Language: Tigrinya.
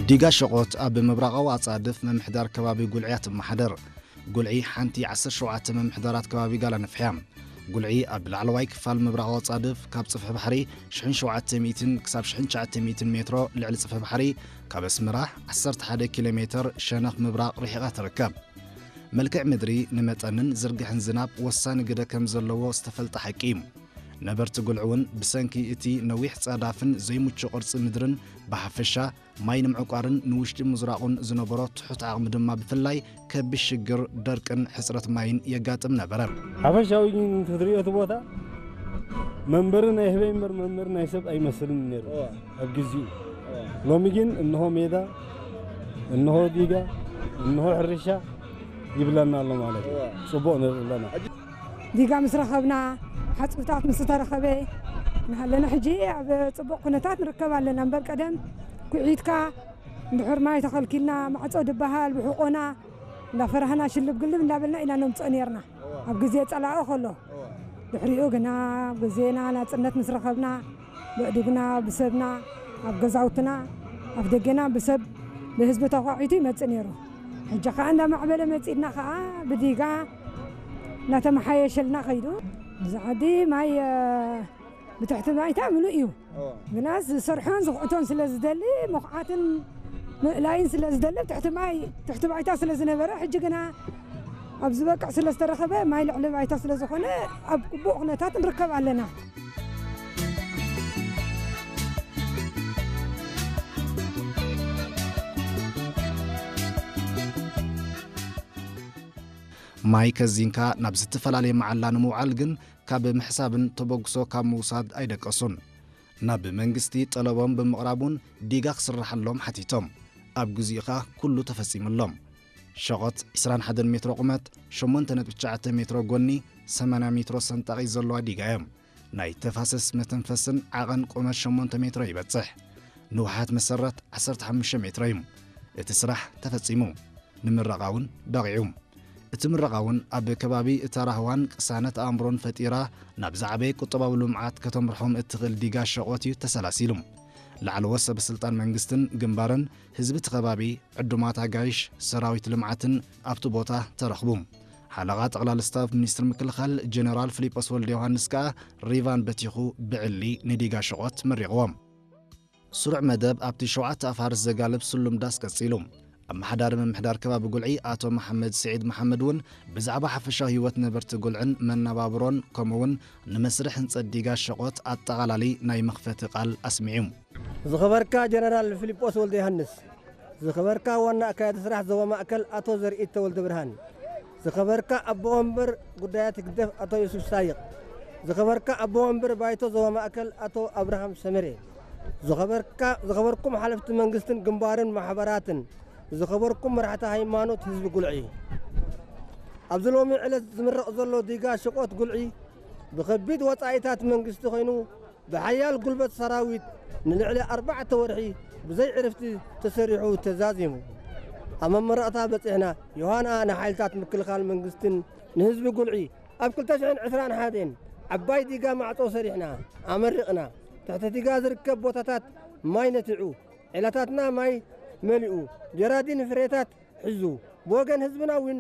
ዲጋ ሸቖት ኣብ ምብራቓዊ ኣጻድፍ ምምሕዳር ከባቢ ጉልዒ እያ ትመሓደር። ጉልዒ ሓንቲ ዓሰርተ ሸውዓተ ምምሕዳራት ከባቢ ጋላ ነፍሕያ። ጉልዒ ኣብ ላዕለዋይ ክፋል ምብራቓዊ ኣጻድፍ ካብ ጽፍሒ ባሕሪ ሽሕን ሸውዓተ ሚእትን ክሳብ ሽሕን ትሽዓተ ሚእትን ሜትሮ ልዕሊ ጽፍሒ ባሕሪ፣ ካብ ኣስመራ ዓሰርተ ሓደ ኪሎ ሜትር ሸነኽ ምብራቕ ርሒቓ ትርከብ። መልክዕ ምድሪ ንመጠንን ዝርግሕን ዝናብ ወሳኒ ግደ ከም ዘለዎ ዝተፈልጠ ሓቂ እዩ። ነበርቲ ጉልዒ እውን ብሰንኪ እቲ ነዊሕ ጸዳፍን ዘይምቹእ ቅርጺ ምድርን ብሓፈሻ ማይ ንምዕቋርን ንውሽጢ ምዝራቑን ዝነበሮ ትሑት ዓቕሚ ድማ ብፍላይ ከቢድ ሽግር ደርቅን ሕጽረት ማይን የጋጥም ነበረ። ሓፈሻዊ ግን ክትርእዮ እቲ ቦታ መንበሪ ናይ ህበይ እምበር መንበሪ ናይ ሰብ ኣይመስልን ነይሩ ኣብ ግዜኡ። ሎሚ ግን እንሆ ሜዳ፣ እንሆ ዲጋ፣ እንሆ ሕርሻ ይብለና ኣሎ ማለት እዩ። ጽቡቕ ንርኢ ኣለና። ዲጋ ምስ ረኸብና፣ ሓጹብታት ምስ ተረኸበ፣ ንሃለና ሕጂ ኣብ ጽቡቕ ኩነታት ንርከብ ኣለና። እምበር ቀደም ኩዒትካ፣ እንድሕር ማይ ተኸልኪልና፣ ማዕጾ ድበሃል፣ ብሕቆና እንዳፈራህና፣ ሽልብ ግልብ እንዳበልና ኢና ነምጽኦ ነርና። ኣብ ግዜ ጸላኢ ከሎ። ድሕሪኡ ግና፣ ኣብ ግዜና ናጽነት ምስ ረኸብና፣ ብእዱግና፣ ብሰብና፣ ኣብ ገዛውትና፣ ኣብ ደገና ብሰብ፣ ብህዝቢ ተዃዒቱ ይመጽእ ነይሩ። ሕጂ ኸኣ እንዳማዕበለ መጺእና ኸኣ ብዲጋ እናተመሓየሸልና ኸይዱ። እዚ ዓዲ ማይ፣ እ፣ ብትሕቲ ባይታ ምሉእ እዩ። ግና ዝሰርሖን ዝኹዕቶን ስለ ዝደሊ፣ ምኹዓትን ምእላይን ስለ ዝደሊ፣ ትሕቲ ማይ፣ ትሕቲ ባይታ ስለ ዝነበረ፣ ሕጂ ግና ኣብ ዝበቅዕ ስለ ዝተረኸበ፣ ማይ ልዕሊ ባይታ ስለ ዝኾነ፣ ኣብ ግቡእ ኩነታት ንርከብ ኣለና። ማይ ከዚንካ ናብ ዝተፈላለየ መዓላ ንምውዓል ግን ካብ ምሕሳብን ተበግሶ ካብ ምውሳድ ኣይደቀሱን። ናብ መንግስቲ ጠለቦም ብምቕራብ እውን ዲጋ ክስርሓሎም ሓቲቶም። ኣብ ግዜኡ ኸኣ ኩሉ ተፈጺሙሎም። ሸቖት ዕስራን ሓደን ሜትሮ ቁመት፣ ሸሞንተ ነጥቢ ትሽዓተ ሜትሮ ጎኒ፣ ሰማንያ ሜትሮ ሰንጣቒ ዘለዋ ዲጋ እዮም። ናይ ተፋሰስ መተንፈስን ዓቐን ቁመት ሸሞንተ ሜትሮ ይበጽሕ። ንውሓት መሰረት ዓሰርተ ሓሙሽተ ሜትሮ እዩ። እቲ ስራሕ ተፈጺሙ፣ ንምረቓ እውን በቒዑ። እቲ ምረቓ እውን ኣብ ከባቢ እታ ራህዋን ቅሳነት ኣእምሮን ፈጢራ ናብ ዝዓበየ ቁጠባዊ ልምዓት ከተምርሖም እትኽእል ዲጋ ሸቖት እዩ ተሰላሲሉ። ላዕለዎት ሰበ ስልጣን መንግስትን ግንባርን ህዝቢ እቲ ከባቢ፣ ዕዱማት ኣጋይሽ፣ ሰራዊት ልምዓትን ኣብቲ ቦታ ተረኽቡ። ሓለቓ ጠቕላሊ ስታፍ ሚኒስትሪ ምክልኻል ጀነራል ፊሊጶስ ወልደ ዮሃንስ ከኣ ሪቫን በቲኹ ብዕሊ ንዲጋ ሸቖት መሪቕዎም። ስሩዕ መደብ ኣብቲ ሸውዓተ ኣፋርስ ዘጋልብ ስሉም ዳስ ቀጺሉ። ኣመሓዳሪ ምምሕዳር ከባቢ ጉልዒ ኣቶ መሓመድ ስዒድ መሓመድ እውን ብዛዕባ ሓፈሻዊ ህይወት ነበርቲ ጉልዕን መነባብሮን ከምኡ እውን ንመስርሕ ህንጸት ዲጋ ሸቖት ኣጠቓላሊ ናይ መኽፈቲ ቃል ኣስሚዑ። ዝኸበርካ ጀነራል ፊሊጶስ ወልደ ዮሃንስ፣ ዝኸበርካ ዋና ኣካያዲ ስራሕ ዞባ ማእከል ኣቶ ዘርኢት ተወልደ ብርሃን፣ ዝኸበርካ ኣቦ ወንበር ጉዳያት ህግደፍ ኣቶ ዮሱፍ ሳይቕ፣ ዝኸበርካ ኣቦ ወንበር ባይቶ ዞባ ማእከል ኣቶ ኣብርሃም ሰመሬ፣ ዝኸበርካ-፣ ዝኸበርኩም ሓለፍቲ መንግስትን ግንባርን ማሕበራትን፣ ዝኸበርኩም መራሕቲ ሃይማኖት ህዝቢ ጉልዒ፣ ኣብዚ ሎሚ ዕለት ዝምረቕ ዘሎ ዲጋ ሽቖት ጉልዒ ብኸቢድ ወጻኢታት መንግስቲ ኮይኑ ብሓያል ጉልበት ሰራዊት ንልዕሊ ኣርባዕተ ወርሒ ብዘይ ዕርፍቲ ተሰሪሑ ተዛዚሙ። ኣብ መመረቕታ በጺሕና። ዮሃና ንሓይልታት ምክልኻል መንግስትን ንህዝቢ ጉልዒ ኣብ ክልተ ሽሕን ዕስራን ሓደን ዓባይ ዲጋ ማዕጾ ሰሪሕና ኣመሪቕና። ትሕቲ ዲጋ ዝርከብ ቦታታት ማይ ነቲዑ፣ ዒላታትና ማይ መሊኡ፣ ጀራዲን ፍሬታት ሒዙ፣ ብወገን ህዝብና እውን